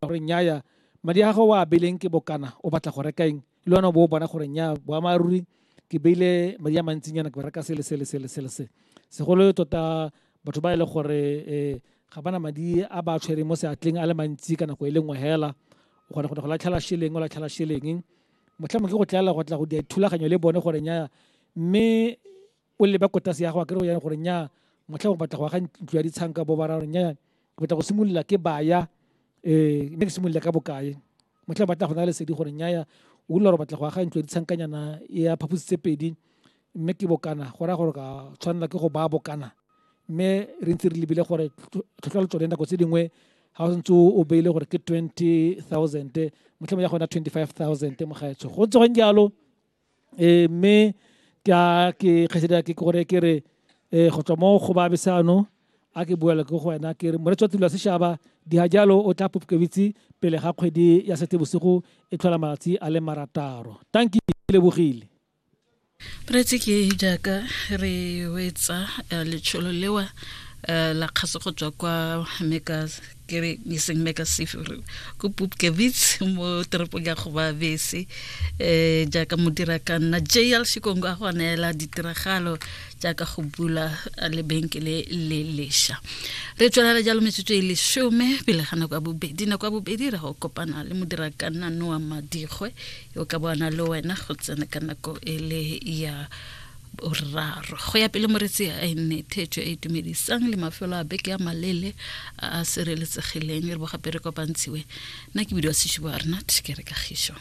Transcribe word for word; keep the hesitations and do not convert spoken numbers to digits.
Gore nnyaya, madi a gago o a beileng ke bokana, o batla go reka eng, le wena o bo o bona gore nya boammaaruri ke beile madi a mantsinyana, ke reka sele sele sele sele se. Segolo tota batho ba e le gore um ga bana madi a ba tshwereng mo seatleng a le mantsi ka nako e le nngwe hela, o kgona go latlhela shileng, o latlhela shileng, motlhamo ke go tlaela go tla go dira thulaganyo le bone gore nya, mme o leba kotase ya go akere go gore nya motlhamo batla go aga ntlo ya ditshanka, bo ba ra gore nya ke batla go simolola ke baya um mme ke simolola ka bokae. Motlhamo batla go na lesedi gore nyaya o utlwa gore batla go aga ntlo ya ditshankanyana ya phaposi tse pedi, mme ke bokana, go raya gore ka tshwanela ke go baya bokana, mme re ntse re lebile gore tlhotlhwa le tsone nako tse dingwe ga o santse o beile gore ke twenty thousand, motlhamo ya gona twenty five thousand mogaetsho, go ntse go jalo. um mme ke a ke kgaitsedi ke gore ke re um go tswa mo go ba besano a ke buela ke go wena ke re moretsi wa tulo ya sešaba diha jalo o tla Pupkewitz pele ga kgwedi ya Seetebosigo e tlhola malatsi a le marataro. Tanki lebogile. Moreetsi, ke jaaka re wetsa letsholo lewa la kgaso go tswa kwa Meka, ke re eseng Meka Safe, ko Pupkewitz mo toropong ya Gobabese, um jaaka modira ka nna J L Shikongo a go neela ditiragalo jaaka go bula lebenkele le lesha. Re tswelela jalo metsotso e lesome pele ga nako ya bobedi. Nako ya bobedi re go kopana le modira ka nna Noa Madigwe yo ka bona le wena go tsena ka nako e le ya boraro. Go ya pele moretsi a e nne thetso e itumedisang le mafelo a beke a malele a a sireletsegileng, re bo gape re kopantshiwe. Nna ke bidiwa Seshubo Arnat, ke re kagišo.